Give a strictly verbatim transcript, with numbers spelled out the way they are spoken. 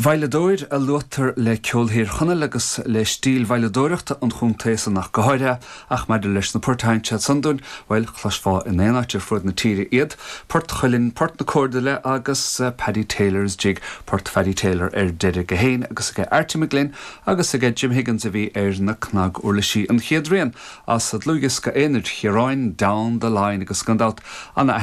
Veidhleadóir a luaitear le ceol Thír Chonaill agus le stíl veidhleadóireachta an chontae san ach go háirithe ach maidir leis na poirt a sheinn siad san dúinn, bhuel chloisfeá in aon áit ar fud na tíre iad, Port Chuilinn, Port na Córdile agus uh, Paddy Taylor's Jig, Port Paddy Taylor ar deireadh go hain agus aige Archie McGlynn agus aige Jim Higgins a bhí ar na cnaguirlisí an chéad rian as dlúthdhiosca aonair Chiaráin Down the Line agus gan dabht an